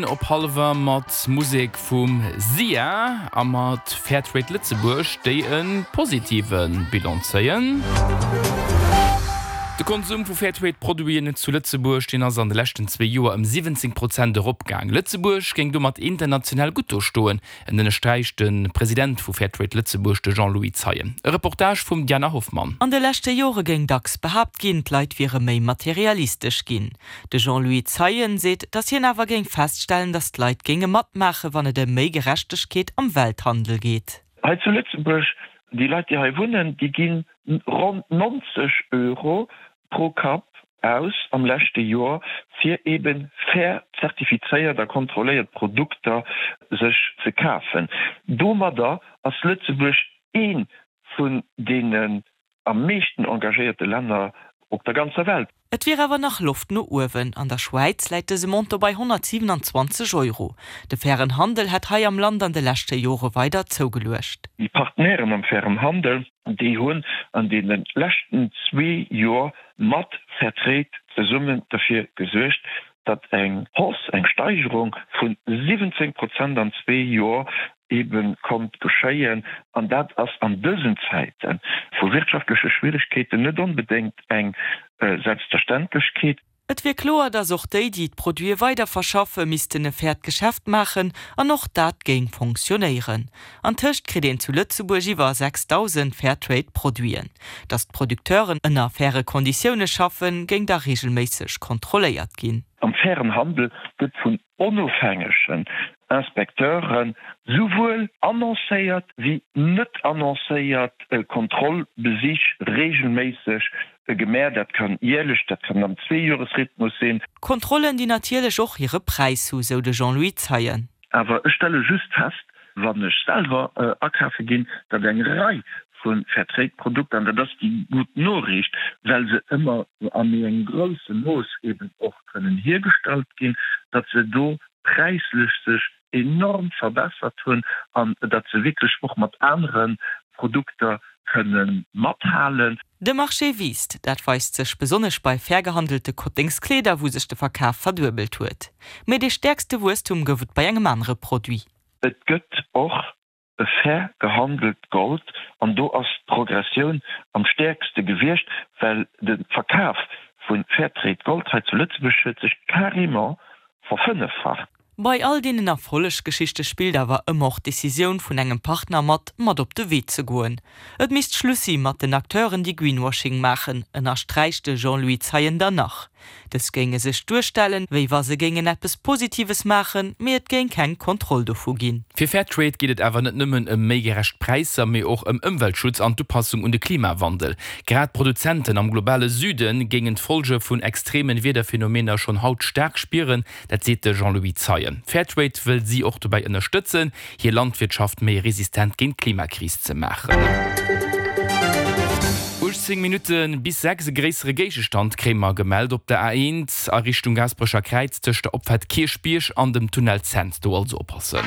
Op hallwer mat Musek vum Sia a mat Fairtrade Lëtzebuerg, déi e positive Bilan zéien. De Konsum vu Fairtrade-Produiten zu Lëtzebuerg, deen ass an de leschten zwee Joer ëm 17 Prozent eropgaang. Lëtzebuerg géing domat international gutt do stoen, En ënnersträicht de President vu Fairtrade Lëtzebuerg, de Jean-Louis Zeien. E Reportage vum Diana Hoffmann. An de leschte Jore géing dacks behaapt ginn, d'Leit wiere méi materialistesch ginn. De Jean-Louis Zeien seet, datt hien awer géing feststellen, datt d'Leit géinge matmaachen, wann et ëm méi Gerechtegkeet am Welthandel geet. Hei zu Lëtzebuerg, déi Leit, déi hei wunnen, déi ginn ronn 90 Euro pro Kapp aus am leschte Joer, fir eben fair zertifizéiert a kontrolléiert Produkter sech ze kafen. Domadder ass Lëtzebuerg ee vun deenen am meeschten engagéierte Länner op der ganzer Welt. Et wier awer nach Loft no uewen. An der Schwäiz läit dëse Montant bei 127 Euro. De fairen Handel hätt hei am Land an de leschte Jore weider zougeluecht. Déi Partenairen am fairen Handel, déi hunn an deene leschten zwee Joer mat Fairtrade zesummen derfir gesuergt, datt eng Hausse, eng Steigerung vu 17 Prozent an zwee Joer ebe konnt geschéien. An dat ass an dësen Zäite vu wirtschaftleche Schwieregkeeten net onbedéngt eng Selbstverständlechkeet. Et wier kloer, datt och déi, déi d'Produite weider verschaffe missten e fairt Geschäft maachen an och dat géing fonctionnéieren. Antëscht kritt een zu Lëtzebuerg iwwer 6.000 Fairtrade-Produiten. Datt d'Producteuren ënner faire Konditioune schaffen, géing da reegelméisseg kontrolléiert ginn. Am fairen Handel gëtt vun onofhängegen Inspecteure souwuel annoncéiert wéi net annoncéiert Kontrollbesich reegelméisseg gemaach. Dat kann jäerlech, dat kann am Zweejoresrhythmus sinn. Kontrollen, déi natierlech och hire Präis hu, sou de Jean-Louis Zeien. Awer ech stelle just fest, wann ech selwer akafe ginn, datt eng Rei vu Fairtrade-Produkter, an dat ass déi gutt Noriicht, well se ëmmer a méi engem grousse Mooss eben och kënnen hiergestallt ginn, datt se do präislech sech enorm verbessert hunn an datt se wierklech och mat anere Produkter kënne mathalen. De Marché wiisst, dat weist sech besonnesch bei fair gehandelte Kotténgskleeder, wou sech de Verkaf verduebelt huet. Mee dee stäerkste Wuesstum gouf et bei engem anere Produit. Et gëtt och e fair gehandelt Gold an do ass d'Progressioun am stäerkste gewiescht, well de Verkaf vu Fairtrade Gold hei zu Lëtzebuerg huet sech carrément verfënneffacht. Bei all deenen Erfollegsgeschichte spillt awer ëmmer och d'Decisioun vun engem Partner mat, mat op de Wee ze goen. Et misst Schluss si mat den Acteuren, déi Greenwashing maachen, ënnersträicht de Jean-Louis Zeien dann nach. Dës géinge sech duerstellen, wéi wa se géingen eppes Positives maachen, mee et géing keng Kontroll dovu ginn. Fir Fairtrade geet et awer net nëmmen ëm méi gerecht Präisser, mee och ëm Ëmweltschutz an d'Upassung un de Klimawandel. Grad d'Produzenten am globale Süde géingen d'Follge vun extreme Wiederphenomener schonn haut staark spieren, dat seet de Jean-Louis Zeien. Fairtrade wëll si och dobäi ënnerstëtzen, hir Landwirtschaft méi resistent géint d'Klimakris ze maachen. 18 Minutte bis 6, E gréissere Géigestand kréie mer gemellt op der A1 a Richtung Gaasperecher Kräiz tëscht der Opfaart Kierchbierg an dem Tunnel Cents. Do also oppassen.